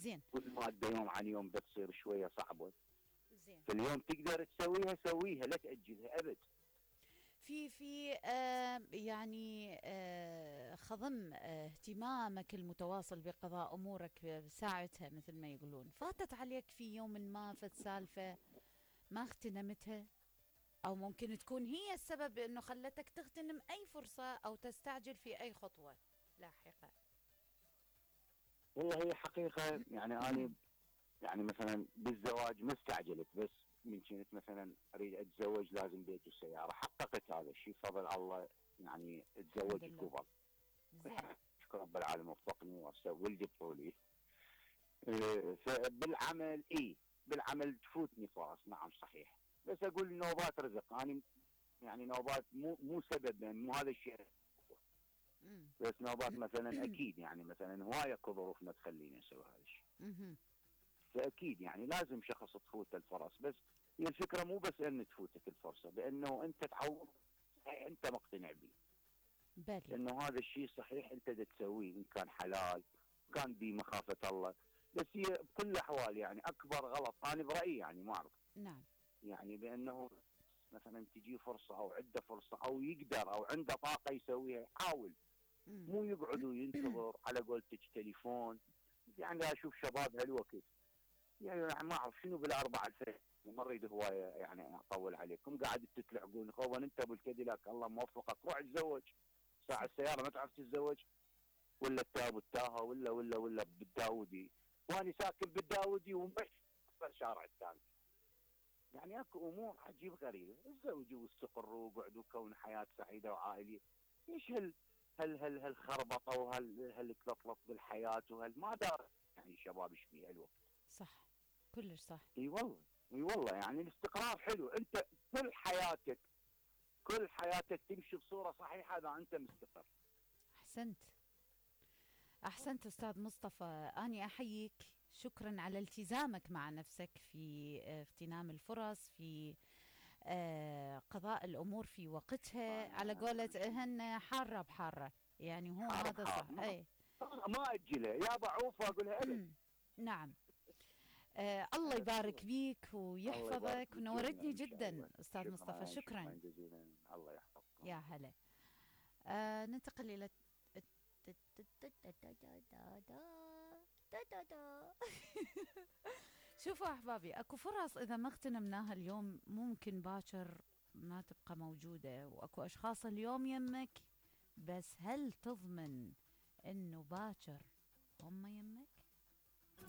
زين. والمادة يوم عن يوم بتصير شوية صعبة. زين. فاليوم تقدر تسويها سويها، لا تأجلها أبد. في يعني خضم اهتمامك المتواصل بقضاء أمورك بساعتها مثل ما يقولون، فاتت عليك في يوم ما فت سالفة ما اغتنمتها، أو ممكن تكون هي السبب أنه خلتك تغتنم أي فرصة أو تستعجل في أي خطوة لاحقة؟ والله هي حقيقة يعني أنا يعني مثلا بالزواج ما استعجلت، بس من كنت مثلا اريد اتزوج لازم بيت وسياره، حققت هذا الشيء بفضل الله. يعني الحمد تزوجت لله. قبل. زين. شكر رب العالمين وفقني ولدي بطولي. فبالعمل بالعمل تفوتني فرص، نعم صحيح، بس اقول نوبات رزق. انا يعني نوبات مو سبب، يعني مو هذا الشيء، بس نوبات مثلا اكيد يعني مثلا هوايه اكو ظروف ما تخليني اسوي هذا الشيء. فاكيد يعني لازم شخص تفوت الفرص، بس هي الفكره مو بس ان تفوتك الفرصه، بانه انت تعوض صحيح انت مقتنع به، بالي. انه هذا الشيء صحيح انت تسويه ان كان حلال، كان بمخافه الله. بس هي بكل الاحوال يعني اكبر غلط انا برايي، يعني ما اعرف، نعم. يعني بانه مثلا تجي فرصه او عنده فرصه او يقدر او عنده طاقه يسويها يحاول، مو يقعد وينتظر على قولتك تليفون. يعني اشوف شباب هالوقت يعني ما اعرف شنو بالاربعه الفجر، ما اريد هوايه يعني اطول عليكم، قاعد تتلعقون خوان انت ابو الكاديلاك الله موفقك روح اتزوج. ساعه السياره ما تعرف تتزوج، ولا ابو التاهه ولا بالداودي، وانا ساكن بالداودي ومش الشارع الثاني. يعني اكو امور عجيب غريبه، تزوجوا واستقروا وقعدوا كون حياه سعيده وعائليه. ايش هالخربطه وهالكلطلط بالحياه ما دار يعني الشباب ايش فيها الوقت. صح، كلش صح. اي والله، اي والله يعني الاستقرار حلو. انت كل حياتك تمشي بصوره صحيحه اذا انت مستقر. احسنت، احسنت استاذ مصطفى، اني احييك، شكرا على التزامك مع نفسك في اغتنام الفرص، في قضاء الامور في وقتها، على قولة هن حارة بحارة، يعني هو حار هذا بحار صح. اي ما اجلها يا بعوفه اقولها ابد. نعم. الله يبارك بيك الله يبارك ويحفظك، فيك جميعا ونورتني ان شاء جدا الله. استاذ مصطفى، شكرا شكرا. شكرا جزيلا، الله يحفظكم. يا هلا. ننتقل الى شوفوا احبابي، اكو فرص اذا ما اغتنمناها اليوم ممكن باكر ما تبقى موجودة، واكو اشخاص اليوم يمك، بس هل تضمن انه باكر هم يمك؟